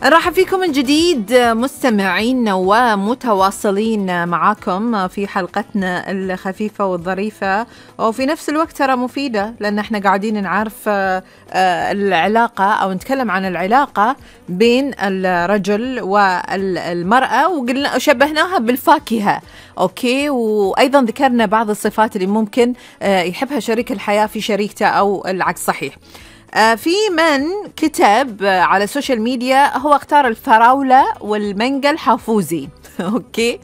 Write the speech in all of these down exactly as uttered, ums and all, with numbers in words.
نرحب فيكم من جديد مستمعين ومتواصلين معاكم في حلقتنا الخفيفة والظريفة، وفي نفس الوقت ترى مفيدة، لأن احنا قاعدين نعرف العلاقة أو نتكلم عن العلاقة بين الرجل والمرأة، وقلنا شبهناها بالفاكهة. أوكي، وأيضا ذكرنا بعض الصفات اللي ممكن يحبها شريك الحياة في شريكته أو العكس صحيح. في من كتب على السوشيال ميديا هو اختار الفراولة والمانجا الحافوزي. أوكي،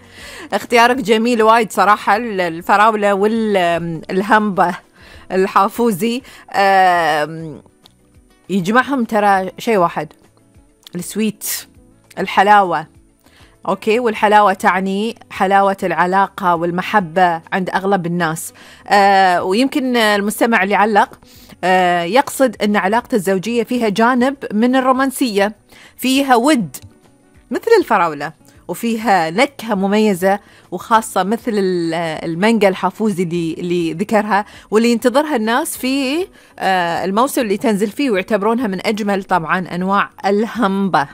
اختيارك جميل وايد صراحة، الفراولة والهمبة الحافوزي يجمعهم ترى شيء واحد، السويت، الحلاوة. أوكي، والحلاوة تعني حلاوة العلاقة والمحبة عند أغلب الناس. آه ويمكن المستمع اللي علق آه يقصد أن علاقة الزوجية فيها جانب من الرومانسية، فيها ود مثل الفراولة، وفيها نكهة مميزة وخاصة مثل المانجا الحافوزي اللي, اللي ذكرها، واللي ينتظرها الناس في آه الموسم اللي تنزل فيه، ويعتبرونها من أجمل طبعا أنواع الهمبة.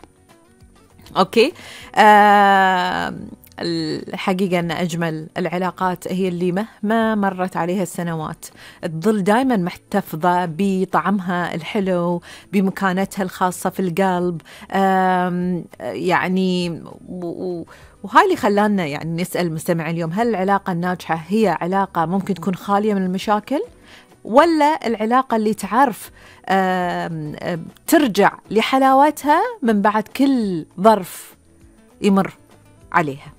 أوكي، آه الحقيقة أن أجمل العلاقات هي اللي مهما مرت عليها السنوات تظل دائما محتفظة بطعمها الحلو، بمكانتها الخاصة في القلب. يعني وهاي اللي خلانا يعني نسأل مستمع اليوم، هل العلاقة الناجحة هي علاقة ممكن تكون خالية من المشاكل، ولا العلاقة اللي تعرف آم آم ترجع لحلاوتها من بعد كل ظرف يمر عليها؟